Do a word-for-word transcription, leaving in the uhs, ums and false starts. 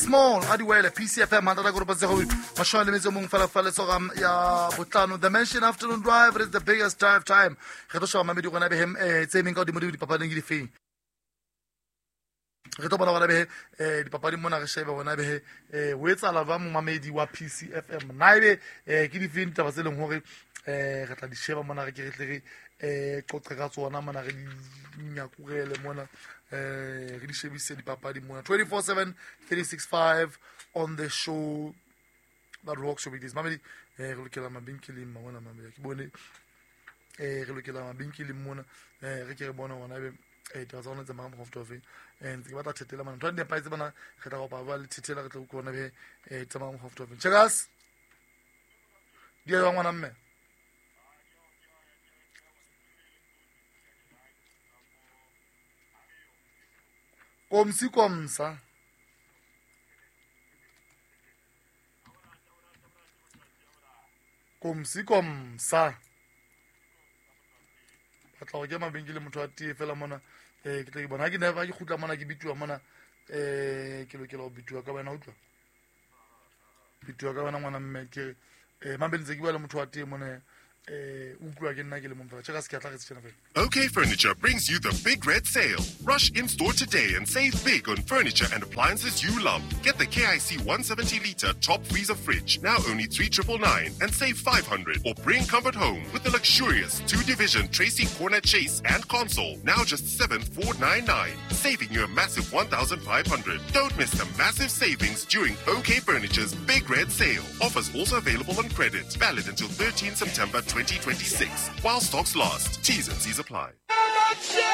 Small a diwele P C F M hantata koropa tse go mashome le metso mong fela fela tsoga ya botlano. The Mansion Afternoon Drive is the biggest drive time. Re tlo sheba mamedi gona be hem eh tse meng ka godimo di dipapading ke difeng. Re tlo bona gona be eh dipapading mona re shebe gona be eh o etsala ba momamedi wa P C F M. Na ebe eh ke difeng ditaba tse leng hore eh re tla di sheba mona re ke re tle re eh qoqe ka tsona mona re di nyakurele mona eh re di shebise dipapadi mona twenty-four seven three six five on the show that rocks your weekdays. Mamedi eh re lokela mabenkeleng mona mamedi ke bone eh re lokela mabenkeleng mona eh re ke re bona hona ebe eh taba tsa rona tse mang mokgwa ofe eh ntse ke batla thetela mona ntho di nepahetse bana re tla kopa ba le thethela re tla utlwa be eh tsamaya mokgwa ofe. Checkers di ya ngwana mme komsi komsa komsi komsa batla go ke mabenkele motho a tee fela mona eh ke tla ke bona ha ke never ke kgutla mona ke bituwa mona eh ke lokela go bituwa ka wena utlwa bituwa ka wena ngwana mme ke eh mabentse ke bua le motho wa tee mona eh utlwa ke nna ke le mong fela check se ke tla re tsena fela. OK Furniture brings you the Big Red Sale. Rush in store today and save big on furniture and appliances you love. Get the K I C one seventy liter top freezer fridge, now only three triple nine, and save five hundred. Or bring comfort home with the luxurious two-division Tracy Corner Chase and console, now just seven four nine nine, saving you a massive one thousand five hundred. Don't miss the massive savings during OK Furniture's Big Red Sale. Offers also available on credit. Valid until thirteenth September twenty twenty-six. While stocks last. T's and C's apply.